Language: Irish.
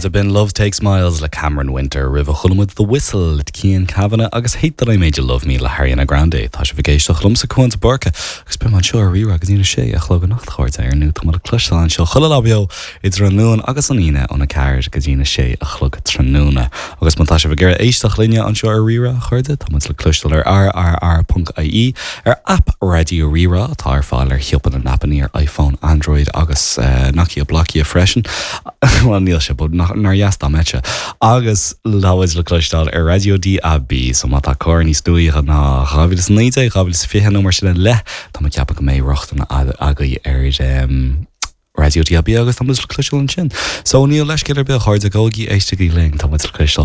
chairde, b'in Love Takes Miles le Cameron Winter. Roimhe chuala muid The Whistle le Cian Kavanagh agus Hate That I Made You Love Me le hAriana Grande. Tá sibh ag éisteacht liomsa, Cuán de Búrca, agus beidh mé anseo ar Rí-Rá go dtí na sé a chlog anocht, a chairde. Ar ndóigh, tá mé le cloisteáil anseo chuile lá beo idir an Luan agus an Aoine óna 4 go dtí na sé a chlog tráthnóna. Agus má tá sibh ag iarraidh éisteacht linne anseo ar Rí-Rá, a chairde, tá muid le cloisteáil ar rrr.ie, ar aip Raidió Rí-Rá atá ar fáil ar shiopa na n-aipeanna ar iPhone, Android agus Nokia Blokia freisin. Bhuel, níl sé, but nár dheas dá mbeadh sé. Agus tá muid le cloisteáil ar Raidió DAB, so má tá carr níos nuaíche ná 2019, 2020 nó mar sin i leith, tá mé ag ceapadh go mbeidh rochtain agaibh ar Raidió DAB agus tá muid le cloisteáil ansin. So níl leithscéal ar bith, a chairde, gabhaigí, éistigí linn, tá muid le cloisteáil.